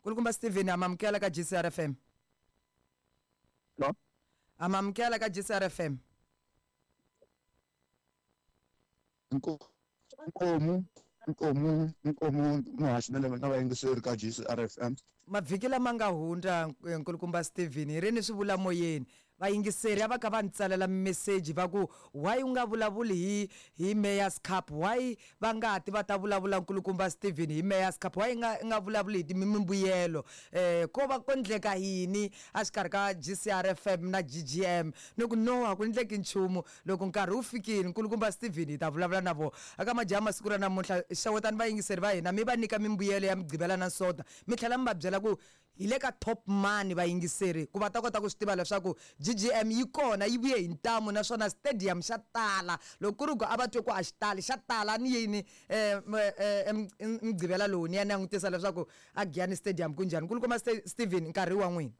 Kulukumba Steven, amamukela ka GCR FM. No. Amamukela ka GCR FM. Nkomu, nkomu, nkomu, muhaxi na vayingiseri ka GCR FM. Mavhiki lama nga hundza, nkulukumba Steven, hi ri ni swi vula moyeni, vayingiseri a va kha va ni tsalela mimeseji va ku why u nga vulavuli hi Mayor's Cup, why va nga ti va ta vulavula nkulukumba Steven hi Mayor's Cup, why nga vulavuli hi mimbuyelo, ko va ko ndleka yini a xikarhi ka GCR FM na GGM. Ni ku no, a ku ndleki nchumu, loko nkarhi wu fikile nkulukumba Steven hi ta vulavula na vona. Aka majaha masiku ra namuntlha, xewetani vayingiseri va hina, mi va nyika mimbuyelo ya Mugqivela na Sonta, mi tlhela mi va byela ku hi le ka top mani vayingiseri, ku va ta kota ku swi tiva leswaku GGM yi kona, yi vuye hi ntamu, naswona stadium xa tala. Loko ku ri ku a va twe ku a xi tali, xa tala. Ni yini Mugqivela lowu ni ya langutisa leswaku a Giyani Stadium ku njhani. Nkulukumba Steven, nkarhi wa n'wina.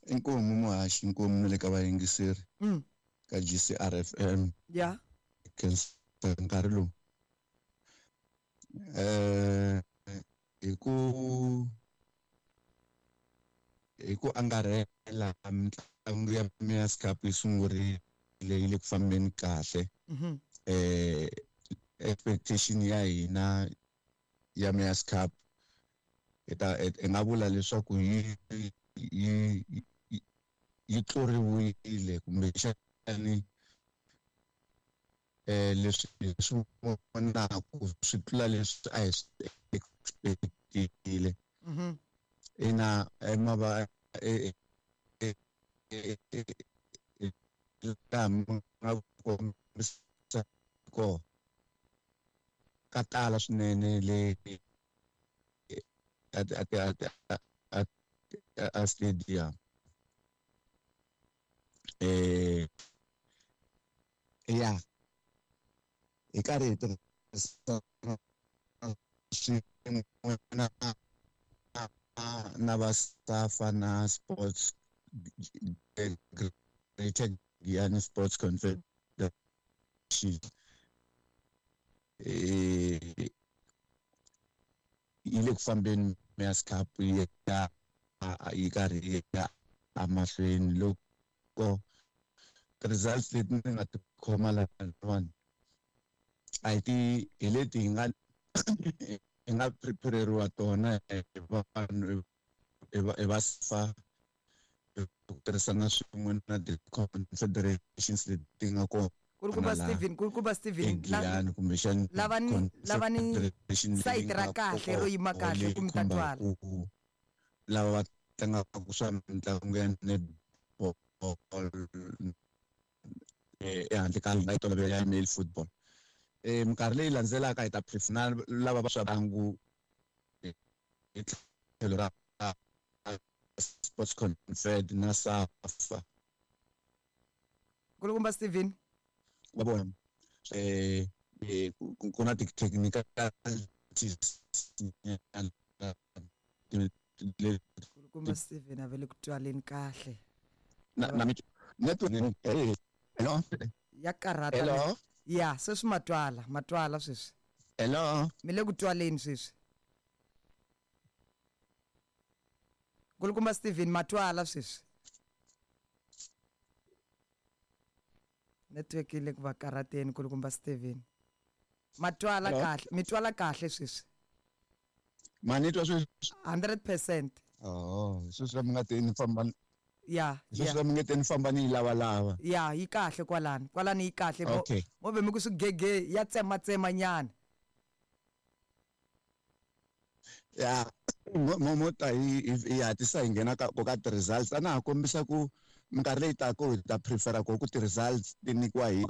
Inkomu muhaxi, inkomu na le ka vayingiseri ka GCR FM. Khensa nkarhi lowu. Hi ku angarhela, mitlangu ya Mayor's Cup yi sungurile, yi le ku fambeni kahle. Expectation ya hina ya Mayor's Cup, hi ta hi nga vula leswaku yi tluriwile kumbexani, leswi hi swi vonaku swi tlula leswi a hi swi expectile. Ina, mava laha mi nga kombisa kona ka tala swinene le a stadium. Ya, hi karhi hi tirhisa swin'we na va SAFA na Sports Greater Giyani Sports Confederation, yi le ku fambeni Mayor's Cup, yi ya yi karhi yi ya emahlweni. Loko results leti ni nga ti khoma lahawani, a hi ti hi leti hi nga prepareriwa tona hi vanhu hi va SAFA, ku tirhisana swin'we na ti-confederations leti nga kona. Kulukumba Steven, kulukumba Steven, eGiyani kumbexani. Lavani sayiti ra kahle ro yima kahle ku mi ta twala. Lava va tlangaka swa mitlangu ya netball ehandle ka nga yi tolovela ya male football, minkarhi leyi landzelaka hi ta prefer na lava va swa ntlangu hi tlhelo ra Sports Confed na SAFA. Kulukumba Steven. Va vona ku na ti-technicalities. Kulukumba Steven a ve le ku twaleni kahle. Na network. Hello? Ya karhata. Hello? Ya, sweswi matwala, matwala sweswi. Hello? Mi le ku twaleni sweswi, kulukumba Steven, matwala sweswi. Network yi le ku va karhateni. Kulukumba Steven, matwala kahle, mi twala kahle sweswi. Ma ni twa sweswi? 100%. Oh, sweswi la mi nga te ni famba. Sweswi la mi nge te ni famba ni yi lavalava. Ya, yi kahle kwalani, kwalani yi kahle. Mo ve mi ku swigege ya tsematsema nyana. Ya, mo ta hi hatlisa hi nghena ka ti-results. A na ha kombisa ku minkarhi leyi taka hi ta prefera ku ti-results ti nyikiwa hi